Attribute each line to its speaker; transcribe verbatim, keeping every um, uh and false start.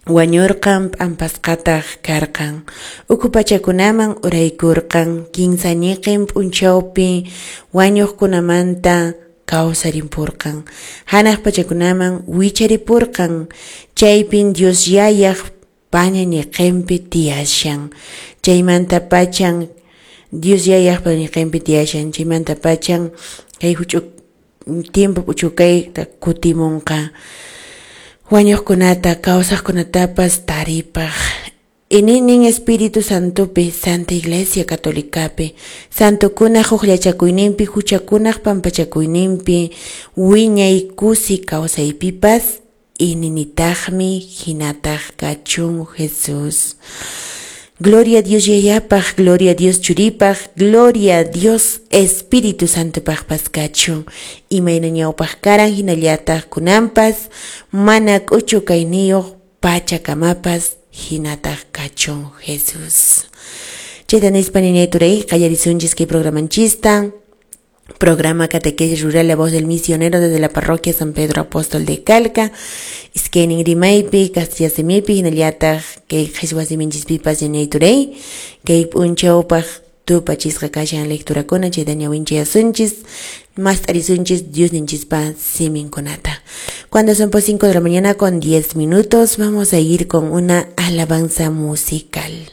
Speaker 1: Wañurqan, p'ampasqataq karqan. Ukhu pachakunaman uraykurqan, kinsa ñiqin p'unchawpi wañuqkunamanta kawsarimpurqan. Hanaq pachakunaman wicharipurqan, chaypin Dios Yayaq paña ñiqinpi tiyashan. Chaymanta pachan Dios Yayaq paña ñiqinpi tiyashan, chaymanta pachan kay huch'u tiempo p'uchukayta kutimunqa. Wañuqkunata kawsaqkunatapas taripaq. Ininin Espíritu Santopi, Santa Iglesia Católicapi, santokunaq hukllachakuyninpi, huchakunaq pampachakuyninpi, wiñay kusi kawsaypipas, ininitaqmi hinataq kachun Jesús. Gloria a Dios Yayapaq, gloria a Dios Churipaq, gloria a Dios Espíritu Santopaqpas kachun. Imayna ñawpaq karan hinallataq kunanpas, mana k'uchu kayniyuq pachakamapas hinataq kachun Jesús. Chayta nispa ñañay turay qallarisunchis kay programanchista. Programa Catequesis Rural La Voz del Misionero desde la Parroquia San Pedro Apóstol de Calca. Iskaynin rimaypi, castilla simipi, hinallataq kay qhichwa siminchispipas ñañay turay. Kay p'unchawpaq tupachisqa kashan lecturakuna chayta ñawinchayasunchis, mast'arisunchis Diosninchispa siminkunata. Cuando son por cinco de la mañana con diez minutos, vamos a ir con una alabanza musical.